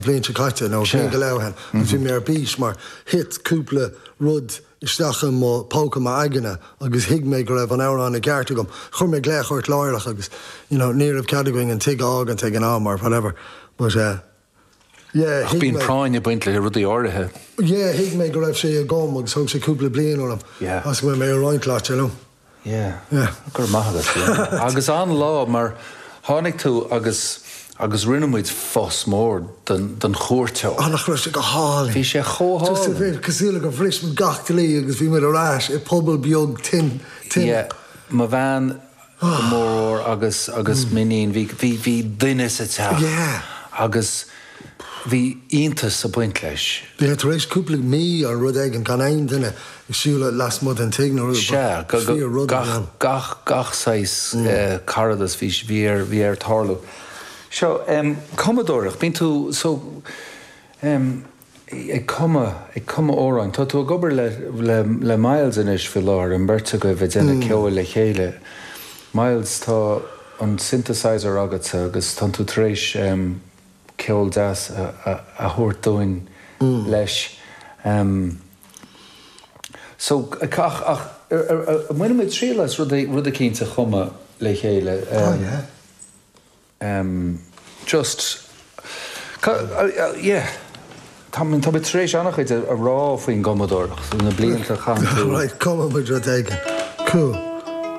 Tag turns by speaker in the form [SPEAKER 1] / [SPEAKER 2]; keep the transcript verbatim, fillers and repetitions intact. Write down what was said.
[SPEAKER 1] Bhliain seo caite nó bliain go leith ó shin, agus bhí mé ar bís mar thit cúpla rud isteach i mo póca m'aigne agus thuig mé go raibh an amhrán i gceart agam. Chuir mé glaoch ort láithreach agus you know ní raibh cead againn an tigh a fhágaint ag an am or whatever but uh, yeah,
[SPEAKER 2] Ach bíonn práinn ag baint le rudaí áirithe.
[SPEAKER 1] Yeah, thuig mé go raibh sé agam agus thóg sé cúpla bliain orm.
[SPEAKER 2] Yeah.
[SPEAKER 1] As go mbeidh mé ag roinnt leat, you know.
[SPEAKER 2] Yeah.
[SPEAKER 1] Yeah.
[SPEAKER 2] Go raibh maith agat, yeah. Agus an-lá mar tháinig tú agus agus rinne muid fuss mór den den chuairteoir.
[SPEAKER 1] Ah, nach raibh sé go hálainn.
[SPEAKER 2] Bhí sé chomh
[SPEAKER 1] Just a
[SPEAKER 2] hálainn.
[SPEAKER 1] bit cosúil le gur bhris muid gach dlí agus bhí muid ar ais i pobal beag tin tin.
[SPEAKER 2] Yeah. Mo bhean go mór agus agus m'iníon bhí bhí bhí duine sa teach.
[SPEAKER 1] Yeah.
[SPEAKER 2] Agus bhí iontas ag baint leis.
[SPEAKER 1] Bhí tar éis cúpla mí ar rud éigin gan aon duine ag siúl lasmuigh den tigh nó rud.
[SPEAKER 2] Sea, go- go-
[SPEAKER 1] Fíor rud
[SPEAKER 2] gach
[SPEAKER 1] ann.
[SPEAKER 2] gach gach saghas eh, caradas bhí bhí ar bhí ar tarlú. Seo um, cumadóireacht, bíonn tú so um, ag cumadh ag cumadh amhráin. Tá tú ag obair le le le Myles anois faoi láthair an bheirt agaibh ag déanamh ceoil le chéile. Myles tá an synthesizer agatsa agus tá tú tar éis um, ceol deas a, a, a thabhairt dúinn leis. Um, So ach ach bhain muid triail as rud rud eicínt a chumadh le chéile.
[SPEAKER 1] Oh
[SPEAKER 2] Um,
[SPEAKER 1] yeah.
[SPEAKER 2] um, just ca, uh, uh, yeah. Tá tá tar éis an-chuid a rá faoin gcumadóireacht na blianta chaith tú.
[SPEAKER 1] Right, cumadh muid rud éigin. Cool.